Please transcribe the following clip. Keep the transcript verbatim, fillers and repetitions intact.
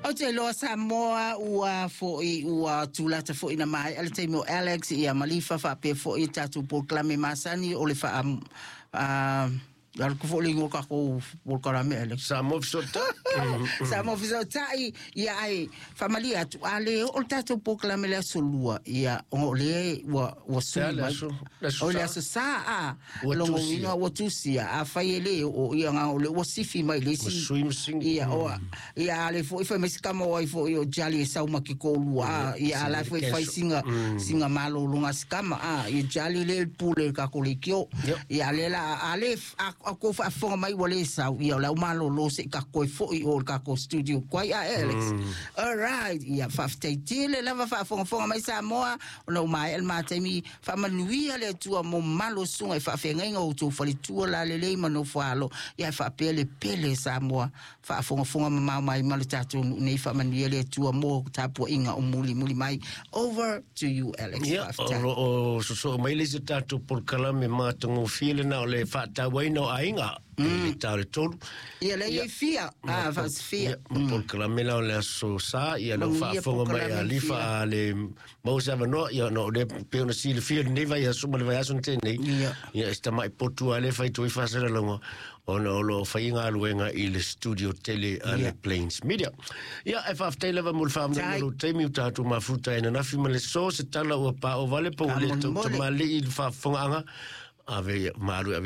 Ou te iloa Samoa ua fo'i ua tulata fo'i na maea le taimi o Alex ia Malifa faapea fo'i tatou polokalame masani o le faa a alu ku fo'i le igoa takou polokalame, Alex. Samoa Fesootai. Samoa Fesootai. Ia ai faamalie atu a le oo le tatou polokalame le aso lua ia ona o lea ua ua sui le mai aso- le aso o le Sa. aso Sa a Ua logo tusia. Uiga ua tusia a fai e le oo ia nga o le ua sifi mai le isi Ua sui ma sigi. Ia o ia ale fo'i fai mai si kama o ai fo'i o Jali e sau ma ke kōlua a ia ala foi fai singa singa malōlōga si kama a ia Jali le pule ka ko le kio. Yep. Ia le la ale a a ko faafofoga mai ua lē sau ia o le au malōlō se'i takoe fo'i o le takou studio koai a Alex. All right, ia faafetai tele lava faafogafoga mai Samoa ona ua maea le mataimi. Faamanuia le Atua mo malo suga i faafeagaiga o outou faletua lalelei ma nofoalo ia faapea le pele Samoa faafogafoga mamao mai ma le tatou nuu nei. Faamanuia le Atua mo tapuaʻiga o mulimuli mai. Over to you, Alex. Ia, o Faafetai. lo o sosoo mai le isi tatou polokalame matagofie lena o le faatauaina o aiga i le tau le tolu. Ia le ia fia a faasifia. Ia, ma polokalame la o le aso Sa, ia lau Manuia faafofoga mai a polokalame Lifa fia. a le maua se avanoa, ia ona o lea pei ona silafia lenei vaiaso ma le vaiaso na tea nei. Ia. Ia, e si tamaʻi potu a le faitoi faasalalauga ona o loo faiga galuega i le studio tele a le Ia. Plains Media. Ia, e faafetai lava mo le faamanuiaina Tai. lou taimi ua tatou mafuta ai ananafi ma le so se tala ua paʻo vale po ua le Faamolemole. tautamalii i le faafofogaaga ave malu ave.